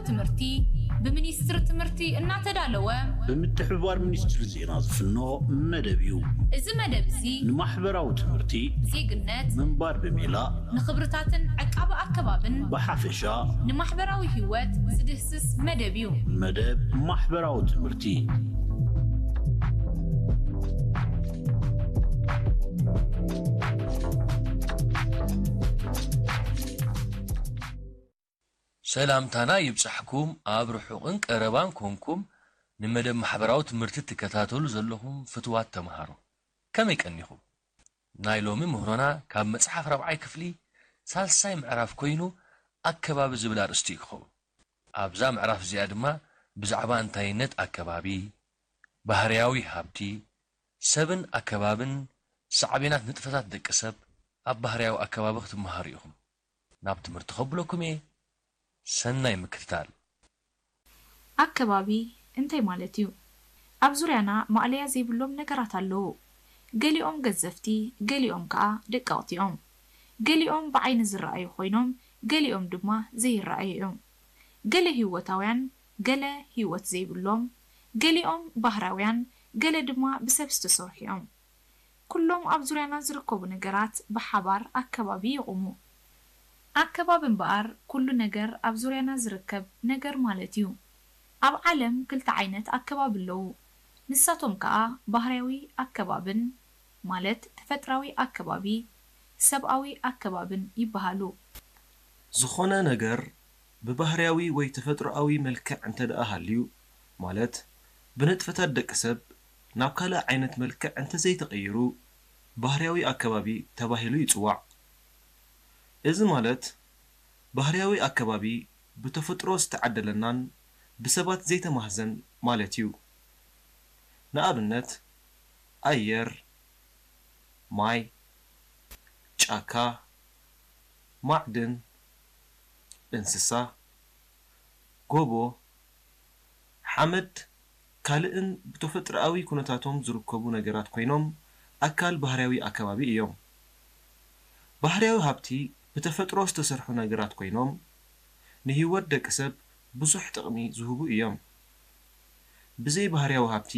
ትምህርቲ ብሚኒስትሪ ትምህርቲ እናተዳለወ ብምትሕብባር ሚኒስትሪ ዜና ዝፍኖ መደብ እዩ። እዚ መደብ እዚ ንማሕበራዊ ትምህርቲ፣ ዜግነት፣ ምንባር ብሜላ፣ ንኽብርታትን ዕቃበ ኣከባብን ብሓፈሻ ንማሕበራዊ ህይወት ዝድህስስ መደብ እዩ። መደብ ማሕበራዊ ትምህርቲ። ሰላምታና ይብጻሕኩም ኣብ ርሑቕን ቀረባን ኮንኩም ንመደብ ማሕበራዊ ትምህርቲ ትከታተሉ ዘለኹም ፍትዋት ተምሃሮ። ከመይ ቀኒኹም? ናይ ሎሚ ምህሮና ካብ መጽሓፍ ራብዓይ ክፍሊ ሳልሳይ ምዕራፍ ኮይኑ ኣከባቢ ዝብል ኣርእስቲ እዩ ክኸውን። ኣብዛ ምዕራፍ እዚኣ ድማ ብዛዕባ እንታይነት ኣከባቢ፣ ባህርያዊ ሃብቲ፣ ሰብን ኣከባብን ሳዕቤናት ንጥፈታት ደቂ ሰብ ኣብ ባህርያዊ ኣከባቢ ክትመሃሩ ኢኹም። ናብ ትምህርቲ ከብለኩም እየ። ሰናይ ምክትታል። ኣከባቢ እንታይ ማለት እዩ? ኣብ ዙርያና ማእለያ ዘይብሎም ነገራት ኣለዉ። ገሊኦም ገዘፍቲ፣ ገሊኦም ከኣ ደቀቕቲ እዮም። ገሊኦም ብዓይኒ ዝረኣዩ ኮይኖም፣ ገሊኦም ድማ ዘይረኣዩ እዮም። ገለ ህይወታውያን፣ ገለ ህይወት ዘይብሎም፣ ገሊኦም ባህራውያን፣ ገለ ድማ ብሰብ ዝተሰርሑ እዮም። ኩሎም ኣብ ዙርያና ዝርከቡ ነገራት ብሓባር ኣከባቢ ይቑሙ። ኣከባቢ እምበኣር ኩሉ ነገር ኣብ ዙርያና ዝርከብ ነገር ማለት እዩ። ኣብ ዓለም ክልተ ዓይነት ኣከባቢ ኣለዉ። ንሳቶም ከኣ ባህርያዊ ኣከባብን ማለት ተፈጥራዊ ኣከባቢ፣ ሰብኣዊ ኣከባብን ይበሃሉ። ዝኾነ ነገር ብባህርያዊ ወይ ተፈጥሮኣዊ መልክዕ እንተ ደኣ ሃልዩ፣ ማለት ብንጥፈታት ደቂ ሰብ ናብ ካልእ ዓይነት መልክዕ እንተ ዘይተቐይሩ፣ ባህርያዊ ኣከባቢ ተባሂሉ ይጽዋዕ። እዚ ማለት ባህርያዊ ኣከባቢ ብተፈጥሮ ዝተዓደለናን ብሰባት ዘይተማህዘን ማለት እዩ። ንኣብነት፣ ኣየር፣ ማይ፣ ጫካ፣ ማዕድን፣ እንስሳ፣ ጎቦ፣ ሓመድ ካልእን ብተፈጥሮኣዊ ኩነታቶም ዝርከቡ ነገራት ኮይኖም ኣካል ባህርያዊ ኣከባቢ እዮም። ባህርያዊ ሃብቲ ብተፈጥሮ ዝተሰርሑ ነገራት ኮይኖም ንህይወት ደቂ ሰብ ብዙሕ ጥቕሚ ዝህቡ እዮም። ብዘይ ባህርያዊ ሃብቲ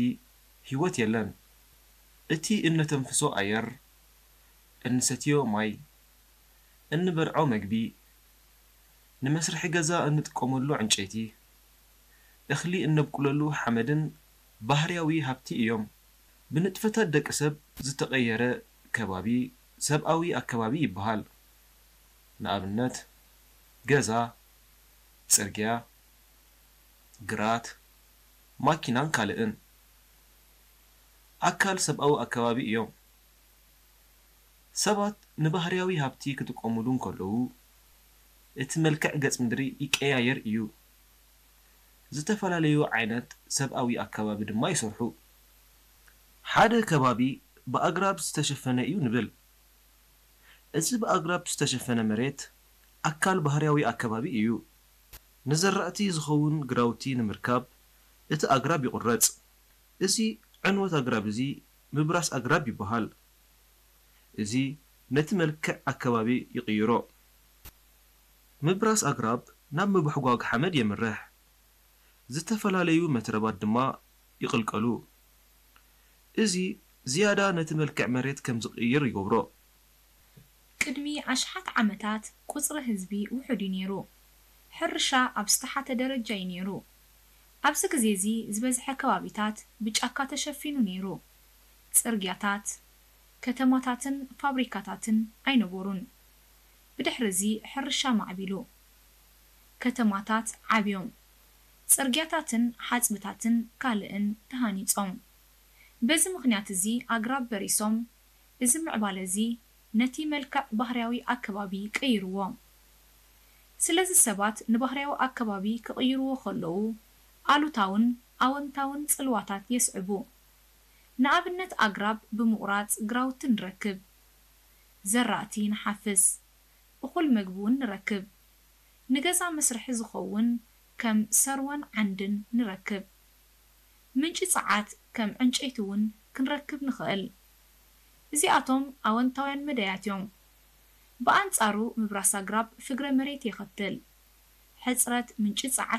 ህይወት የለን። እቲ እነተንፍሶ ኣየር፣ እንሰትዮ ማይ፣ እንበልዖ መግቢ፣ ንመስርሒ ገዛ እንጥቀመሉ ዕንጨይቲ፣ እኽሊ እነብቁለሉ ሓመድን ባህርያዊ ሃብቲ እዮም። ብንጥፈታት ደቂ ሰብ ዝተቐየረ ከባቢ ሰብኣዊ ኣከባቢ ይበሃል። ንኣብነት፣ ገዛ፣ ጽርግያ፣ ግራት፣ ማኪናን ካልእን ኣካል ሰብኣዊ ኣከባቢ እዮም። ሰባት ንባህርያዊ ሃብቲ ክጥቀሙሉ እንከለዉ፣ እቲ መልክዕ ገጽ ምድሪ ይቀያየር እዩ። ዝተፈላለዩ ዓይነት ሰብኣዊ ኣከባቢ ድማ ይሰርሑ። ሓደ ከባቢ ብኣግራብ ዝተሸፈነ እዩ ንብል። እዚ ብኣግራብ ዝተሸፈነ መሬት ኣካል ባህርያዊ ኣከባቢ እዩ። ንዘራእቲ ዝኸውን ግራውቲ ንምርካብ እቲ ኣግራብ ይቑረጽ። እዚ ዕንወት ኣግራብ እዚ ምብራስ ኣግራብ ይበሃል። እዚ ነቲ መልክዕ ኣከባቢ ይቕይሮ። ምብራስ ኣግራብ ናብ ምብሕጓግ ሓመድ የምርሕ። ዝተፈላለዩ መትረባት ድማ ይቕልቀሉ። እዚ ዝያዳ ነቲ መልክዕ መሬት ከም ዝቕይር ይገብሮ። ቅድሚ ኣሽሓት ዓመታት ቁጽሪ ህዝቢ ውሑድ እዩ ነይሩ። ሕርሻ ኣብ ዝተሓተ ደረጃ እዩ ነይሩ። ኣብዚ ግዜ እዚ ዝበዝሐ ከባቢታት ብጫካ ተሸፊኑ ነይሩ። ጽርግያታት፣ ከተማታትን ፋብሪካታትን ኣይነበሩን። ብድሕሪ እዚ ሕርሻ ማዕቢሉ። ከተማታት ዓብዮም። ጽርግያታትን ሓጽብታትን ካልእን ተሃኒጾም። በዚ ምኽንያት እዚ ኣግራብ በሪሶም። እዚ ምዕባለ እዚ ነቲ መልክዕ ባህርያዊ ኣከባቢ ቀይርዎ። ስለዚ ሰባት ንባህርያዊ ኣከባቢ ክቕይርዎ ከለዉ ኣሉታውን ኣወንታውን ጽልዋታት የስዕቡ። ንኣብነት ኣግራብ ብምቑራጽ ግራውቲ ንረክብ፣ ዘራእቲ ንሓፍስ፣ እኹል መግቢ እውን ንረክብ። ንገዛ መስርሒ ዝኸውን ከም ሰርወን ዓንድን ንረክብ። ምንጪ ጸዓት ከም ዕንጨይቲ እውን ክንረክብ ንኽእል። እዚኣቶም ኣወንታውያን መዳያት እዮም። ብኣንጻሩ ምብራስ ኣግራብ ፍግረ መሬት የኸትል። ሕጽረት ምንጪ ጸዓት